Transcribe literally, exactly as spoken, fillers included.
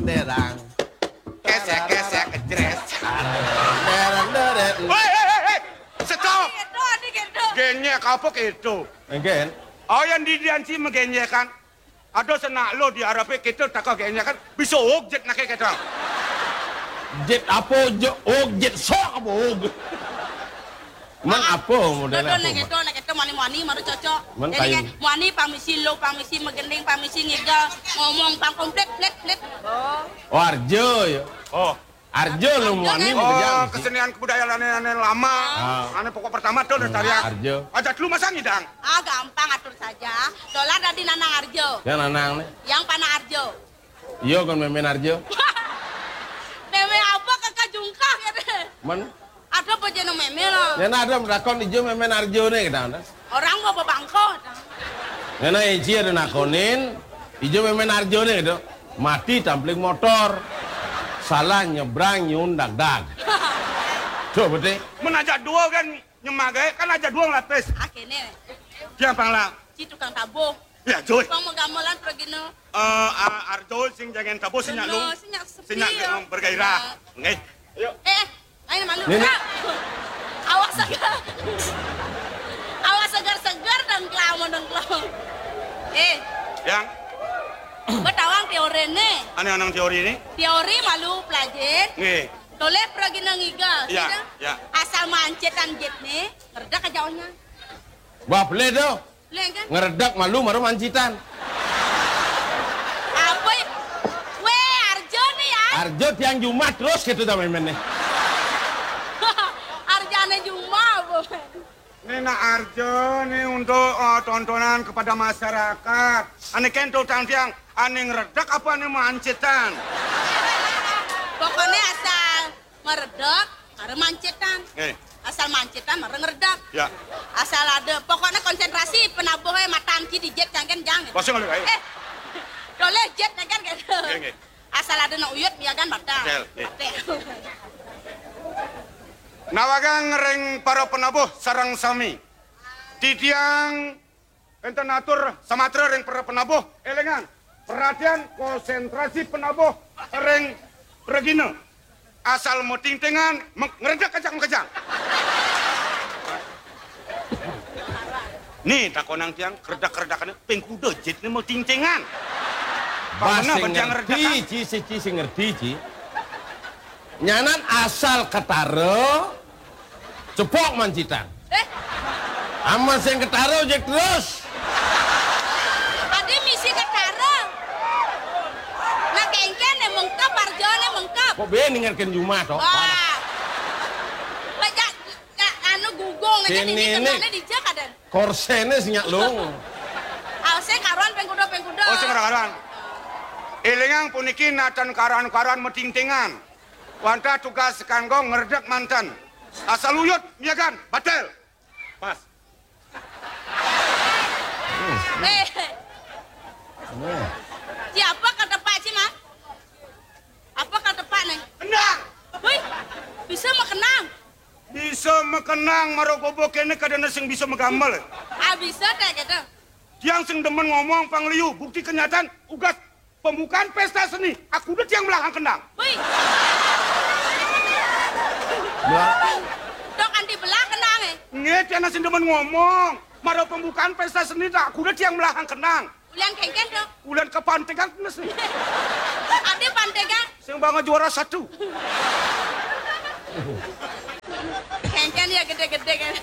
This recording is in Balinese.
Terang. Kesek, kesek, ejres. Terang, terang. Hei, hei, hei, hei. Stop. Gitu, adik gitu. Genyek apa gitu? Engken. Oh, yang di Dianci megenyekan. Ada senak lo di Arab kita tak kau genyek kan. Bisa og jet nake kita. Jet apa je-, og jet sok apa og? Men apa modelnya? Dodol apa, nek Mak? Itu, nek itu mani-mani baru cocok. Men jadi kain. Kan, mani pamisi lo, pamisi megending, pamisi ngigal, ngomong pang komplit, plit, plit. Oh. Oh, arjo ya. Oh. Arjo lo mani. Oh, mani kerja mesti. Kesenian kebudayaan ane, ane lama. Ah. Ane pokok pertama tuh udah. Hmm, tarian. Arjo. Aja dulu masa ngidang. Ah, gampang atur saja. Dolar dari Nanang Arjo. Ya, Nanang nih. Yang panah Arjo. Iya, kan memen Arjo. Memen apa kakak jungkah gitu. Men? Ada apa jeneng memen lo? Ya, nah, ada lakon ijo memen Arjo nih, gitu, ada. Orang mau bebangko. Ya, nah, Eci ada nakonin, ijo memen Arjo nih, gitu. Mati tampling motor. Salah nyebrang nyun dag-dag. Tuh, betul. Men aja dua kan nyemak gae, kan aja dua ngelapis. Ah, kene. Siapa lah? Si tukang tabuh. Ya, Joy. Bang mau gamelan pergi no. Eh, a-, Arjo sing jangan tabuh, sing nyak lu. Bener, sing nyak sepi, sing nyak ya. Bergairah. Ya. Nggih. Ayo. Eh, ayo malu. Nenek. Awas segar. Awas segar-segar dengklau mau dengklau. Eh. Yang? Betawang teori nih. Ane anang teori nih? Teori malu pelajin. Nggih. Toleh pergi nang iga. Iya, gitu. Iya. Asal mancetan jet nih, kerja ke jauhnya. Wah, boleh tuh. Leng kan? Ngeredak malu maru mancitan. Apa ya? Weh, Arjo nih ya. Arjo tiang Jumat terus gitu dah main-main nih. Arjane Jumat apa? Ini nak Arjo nih untuk, eh, tontonan kepada masyarakat. Ane kento tang tiang, ane ngeredak apa ane mancitan? Pokoknya asal meredek, mara mancetan. Eh. Asal mancetan, mara ngeredak. Ya. Asal ada, pokoknya konsentrasi penabuhnya matan ki di jet jangan jangan. Pasang lagi, ayo. Eh, toleh jet jangan gitu. Nggih, nggih. Asal ada nak uyut, ya kan, batal. Betul, nggih. Batal. Nawagang ring para penabuh sareng sami. Titiang Enten atur samatra ring para penabuh, elingan, perhatian, konsentrasi penabuh ring regina. Asal metingtingan, me-, ngeredak kejang-kejang. Nih, takonang tiang, keredak-keredakane ping kuda jitne metingtingan. Bah, pamana sing bajang ngerti, redakan. Ci, si, ci, sing ngerti, Ci. Nyanan asal ketara, cepok mancitan. Eh? Aman sing ketara, ojek terus. Adi misi ketara. Nah, kengken nih mengkep, arjone mengkep. Kok be ningerken Juma, toh? Wah. Bajak, ya, anu gugung, nek kene ini kenane dijak adan. Korsene sing nyak lung. Ause karuan pengkuda, pengkuda. Oh, sing karuan. Elingang puniki natan karuan-karuan metingtingan. Wantah tugas kanggo ngredek manten. Asal uyut, miagan, batel. Pas. Eh. Siapa kata Pak Ciman? Apa kata Pak nih? Kendang. Wih, bisa mah kenang. Bisa mekenang, mara gobo kene kadane sing bisa megamel. Ah, bisa teh gitu. Tiang sing demen ngomong pangliu, bukti kenyataan, ugas pembukaan pesta seni. Aku udah tiang belakang kendang. Wih. Belah. Dok anti belah kendang, eh. Nggih, tiang sing demen ngomong. Mara pembukaan pesta seni, tak aku udah tiang belakang kendang. Ulian kengken, Dok. Ulian kepantekan, Mas. Ada pantekan. Sing banget juara satu. Kengken ya gede-gede kan.